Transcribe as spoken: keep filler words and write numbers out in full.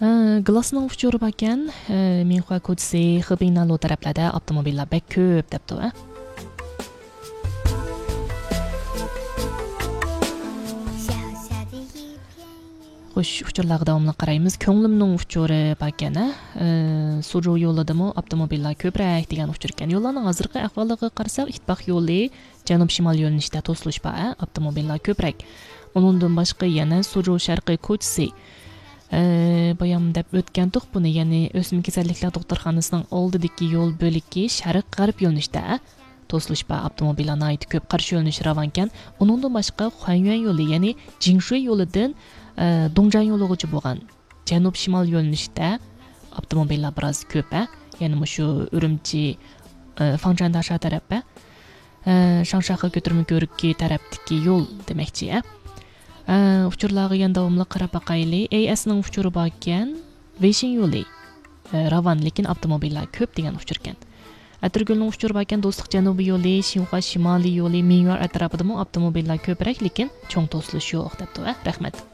ئە، گلاسنىڭ ئۇچۇرى باركەن، ئە، مىنخۇا كوچىسى، خېبىڭنالو تەرەپلەردە ئاپتوموبىللار بەك كۆپ دەپتۇ، ئە. خوش، ئۇچۇرلارغا داۋاملىق قارايمىز. كۆڭلۈمنىڭ ئۇچۇرى باركەن، ئە. ئە، سۇجۇ يولىدىمۇ ئاپتوموبىللار كۆپرەك دېگەن ئۇچۇر ئىكەن. يوللارنىڭ ھازىرقى ئەھۋالىغا قارىساق، ئىتتىپاق يولى جەنۇب شىمال يۆنىلىشتە توسۇلۇش بار، ئە، ئاپتوموبىللار كۆپرەك. ئۇنىڭدىن باشقا يەنە سۇجۇ شەرقىي كوچىسى، ئە، بايام دەپ ئۆتكەنتۇق بۇنى، يەنى ئۆسمە كېسەللىكلەر دوختۇرخانىسىنىڭ ئالدىدىكى يول بۆلىكى شەرق غەرب يۆنىلىشتە، ئە، توسۇلۇش بار، ئاپتوموبىللار ناھايىتى كۆپ، قارشى يۆنىلىش راۋانكەن. ئۇنىڭدىن باشقا خۇەنيۈەن يولى، يەنى جىڭشۇي يولىدىن، ئە، دۇڭجيەن يولىغىچە بولغان جەنۇب شىمال يۆنىلىشتە ئاپتوموبىللار بىراز كۆپ، ئە، يەنى مۇشۇ ئۈرۈمچى، ئە، فاڭجانداشا تەرەپ، ئە. ئە، شاڭشاخې كۆتۈرمە كۆۋرۈكى تەرەپتىكى يول دېمەكچى، ئە. ئە، ئۇچۇرلارغا يەنە داۋاملىق قاراپ باقايلى. ئەي ئەسنىڭ ئۇچۇرى باركەن، ۋېيشىن يولى، ئە، راۋان، لېكىن ئاپتوموبىللار كۆپ دېگەن ئۇچۇركەن. ئەتىرگۈلنىڭ ئۇچۇرى باركەن، دوستلۇق جەنۇبىي يولى، شىنخۇا شىمالىي يولى، مىنيۇەر ئەتراپىدىمۇ ئاپتوموبىللار كۆپرەك، لېكىن چوڭ توسۇلۇش يوق دەپتۇ، ئە. رەھمەت.